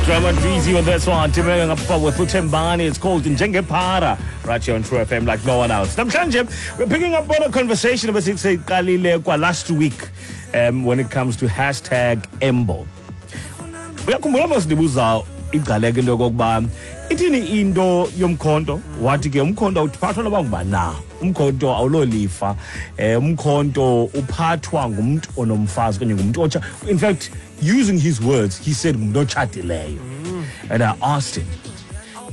Drama Dweezy on this one. Timela ngapha with uThembani. It's called Njengephara right here on True FM like no one else. Namhlanje we're picking up on a conversation ebesiyiqalile kwa last week when it comes to #Embo. Uyakhumbula mos ndibuza igqaleka into yokokuba ithini into yomkhonto, wathi ke umkhonto awuphathwa noba ngubani na, umkhonto awulolifa, umkhonto uphathwa ngumntu onomfazi okanye ngumntu otsha. In fact, using his words, he said ngumntu otshatileyo. And I asked him,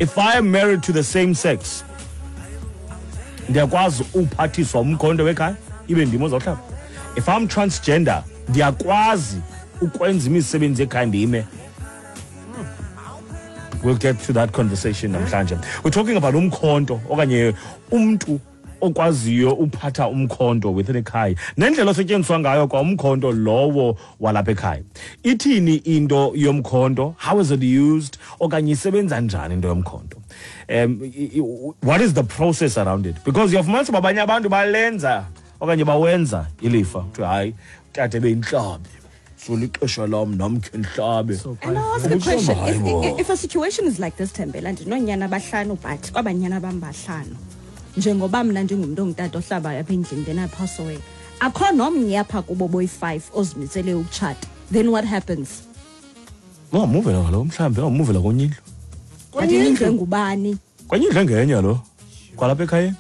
if I am married to the same sex, ndiyakwazi uphathiswa umkhonto wekhaya ibe ndim ozawuhlaba? If I'm transgender, ndiyakwazi ukwenza imisebenzi ekhaya ndime? We'll get to that conversation namhlanje. We're talking about umkhonto okanye umntu okwaziyo uphatha umkhonto within ekhaya, nendlela osetyenziswa ngayo kwa umkhonto lowo walapha ekhaya. Ithini into yomkhonto? How is it used? Okanye isebenza njani into yomkhonto? What is the process around it? Because uyafumanisa uba abanye abantu balenza okanye bawenza ilifa. Kuthiwa hayi, utata ebeyintlabi, so lixesha lam nam khe ndihlabe. And I ask a question. Hayi bo. If a situation is like this, Thembela, ndinoonyana abahlanu, but kwabanyana bam bahlanu, njengoba mna ndingumntu ongutata ohlabayo apha endlini, then I pass away, akho nomnye apha kubo boyi-5 ozimisele ukutshata, then what happens? Ungamuvela kaloku, mhlawumbi ungamuvela kwenye indlu. But indlu engubani? Kwenye indlu engenye lo. Kwalapha ekhayeni.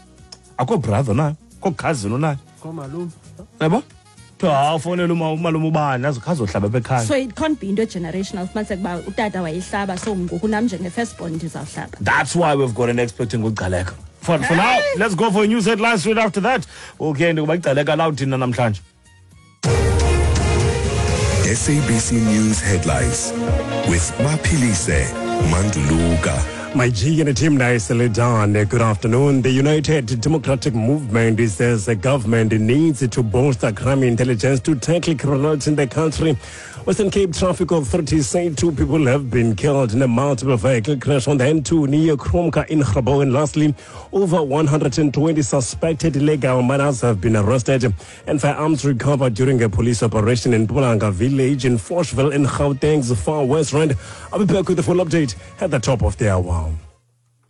Akho brother nayo, akho cousin onayo. Komalume. Yabo? Kuthiwa, hawu, fonela umalume ubani, azohlaba apha ekhaya. So it can't be into generational, fumaniseke uba utata wayehlaba, so ngoku nam njenge-firstborn ndizawuhlaba. That's why we've got an expert ngoGcaleka. For now, let's go for a news headline straight after that. Okay, ndikuba iGcaleka lawo thina namhlanje. SABC News Headlines with Maphilise Manduluka. My G and team nicely done. Good afternoon. The United Democratic Movement says the government needs to bolster crime intelligence to tackle criminals in the country. Western Cape Traffic Authorities say 2 people have been killed in a multiple vehicle crash on the N2 near Kromka in Grabouw. And lastly, over 120 suspected illegal miners have been arrested and firearms recovered during a police operation in Mpumalanga village in Fochville in Gauteng's Far West Rand. I'll be back with the full update at the top of the hour.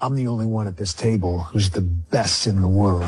I'm the only one at this table who's the best in the world.